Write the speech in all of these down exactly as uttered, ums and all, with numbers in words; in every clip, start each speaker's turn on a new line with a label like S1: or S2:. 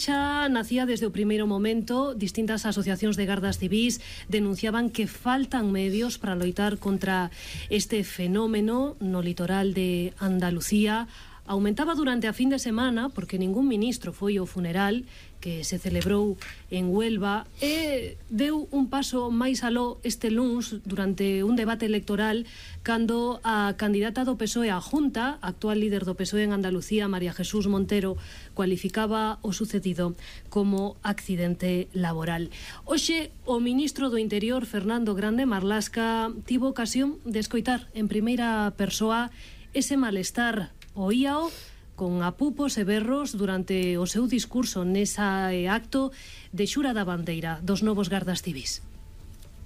S1: Xa nacía desde o primeiro momento. Distintas asociacións de gardas civís denunciaban que faltan medios para loitar contra este fenómeno no litoral de Andalucía. Aumentaba durante a fin de semana porque ningún ministro foi ao funeral que se celebrou en Huelva e deu un paso máis aló este luns durante un debate electoral cando a candidata do P S O E á Junta, actual líder do P S O E en Andalucía, María Jesús Montero, cualificaba o sucedido como accidente laboral. Hoxe, o ministro do Interior, Fernando Grande Marlasca, tivo ocasión de escoitar en primeira persoa ese malestar. Oíao con apupos e berros durante o seu discurso nesa acto de xura da bandeira dos novos gardas civís.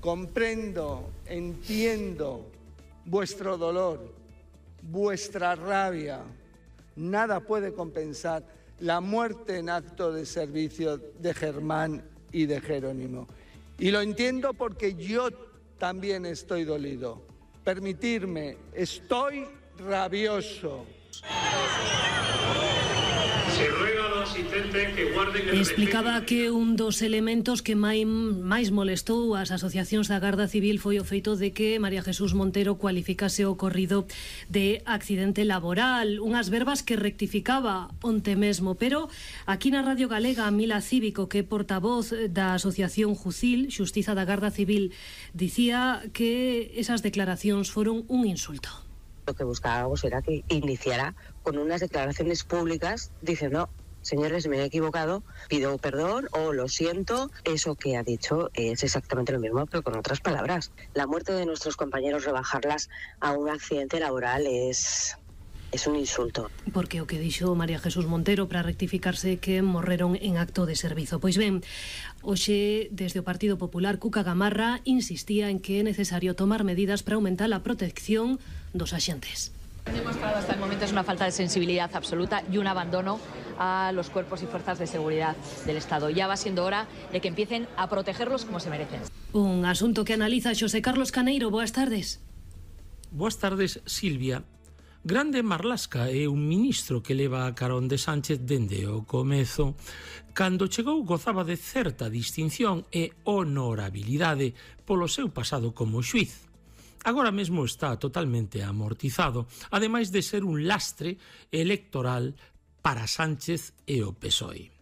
S2: Comprendo, entiendo vuestro dolor, vuestra rabia. Nada puede compensar la muerte en acto de servicio de Germán y de Jerónimo. Y lo entiendo porque yo también estoy dolido. Permitirme, estoy rabioso.
S3: Se ruega a los asistentes que guarden el
S1: Explicaba
S3: respeto.
S1: que un dos elementos que máis, máis molestou as asociacións da Garda Civil foi o feito de que María Jesús Montero cualificase o ocorrido de accidente laboral, unhas verbas que rectificaba onte mesmo, pero aquí na Radio Galega Mila Cívico, que é portavoz da Asociación Jucil, Xustiza da Garda Civil, dicía que esas declaracións foron un insulto.
S4: Lo que buscábamos era que iniciara con unas declaraciones públicas diciendo, señores, me he equivocado, pido perdón o lo siento. Eso que ha dicho es exactamente lo mismo, pero con otras palabras. La muerte de nuestros compañeros, rebajarlas a un accidente laboral es... es un insulto.
S1: Porque o que dixo María Jesús Montero para rectificarse que morreron en acto de servizo. Pois ben, hoxe desde o Partido Popular Cuca Gamarra insistía en que é necesario tomar medidas para aumentar a protección dos axentes.
S5: Demostrado hasta el momento es una falta de sensibilidad absoluta y un abandono a los cuerpos y fuerzas de seguridad del Estado. Ya va siendo hora de que empiecen a protegerlos como se merecen.
S1: Un asunto que analiza Xosé Carlos Caneiro. Boas tardes.
S6: Boas tardes, Silvia. Grande Marlasca é un ministro que leva a carón de Sánchez dende o comezo. Cando chegou gozaba de certa distinción e honorabilidade polo seu pasado como xuiz. Agora mesmo está totalmente amortizado, ademais de ser un lastre electoral para Sánchez e o P S O E.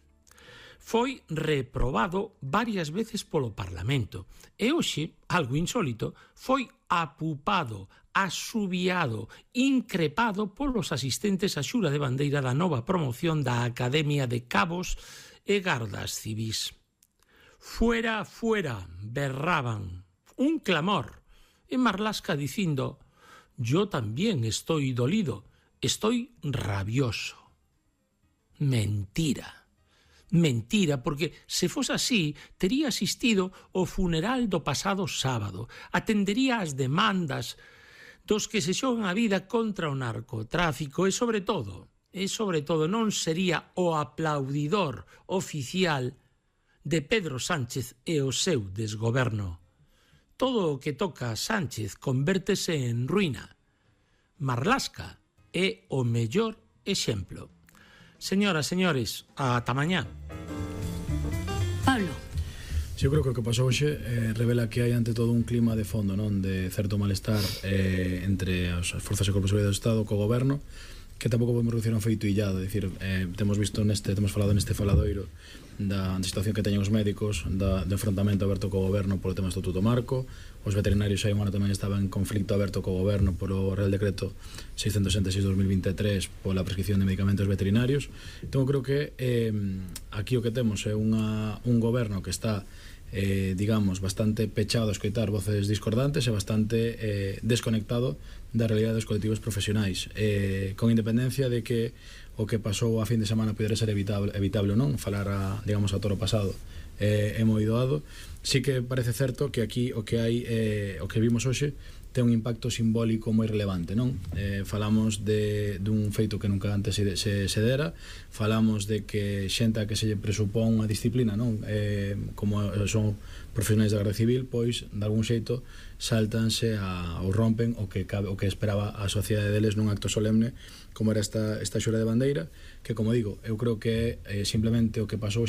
S6: Foi reprobado varias veces polo Parlamento e hoxe, algo insólito, foi apupado, asubiado, increpado polos asistentes á xura de bandeira da nova promoción da Academia de Cabos e Gardas Civís. Fuera, fuera, berraban, un clamor. E Marlasca dicindo, yo también estoy dolido, estoy rabioso. Mentira. Mentira, porque se fose así, tería asistido ao funeral do pasado sábado, atendería as demandas dos que se xogan a vida contra o narcotráfico e, sobre todo, e sobre todo non sería o aplaudidor oficial de Pedro Sánchez e o seu desgoberno. Todo o que toca a Sánchez convértese en ruína. Marlasca é o mellor exemplo. Señoras, señores, ata mañá.
S1: Pablo.
S7: Sí, eu creo que o que pasou hoxe eh, revela que hai ante todo un clima de fondo, non, de certo malestar eh, entre as forzas e corpos de seguridade do Estado co goberno, que tampouco podemos reducir a un feito illado. É dicir, eh, temos visto neste, temos falado neste faladoiro da situación que teñen os médicos, da, do enfrontamento aberto co goberno polo tema do Estatuto Marco. Os veterinarios hai un ano tamén estaban en conflicto aberto co goberno polo Real Decreto seiscentos sesenta e seis barra dos mil vinte e tres pola prescripción de medicamentos veterinarios. Entón, creo que eh, aquí o que temos é unha, un goberno que está Eh, digamos, bastante pechado a escoitar voces discordantes e bastante eh, desconectado da realidade dos colectivos profesionais, eh, con independencia de que o que pasou a fin de semana pudera ser evitable, evitable ou non, falar a, digamos, a toro pasado eh, é moi doado. Sí que parece certo que aquí o que hai eh, o que vimos hoxe ten un impacto simbólico moi relevante, non? Eh, falamos de dun feito que nunca antes se, se, se dera, falamos de que xenta que se lle presupón unha disciplina, non? Eh, como son profesionais da Garda Civil, pois, de algún xeito, saltanse a, ou rompen o que, cabe, o que esperaba a sociedade deles nun acto solemne como era esta, esta xura de bandeira, que, como digo, eu creo que eh, simplemente o que pasou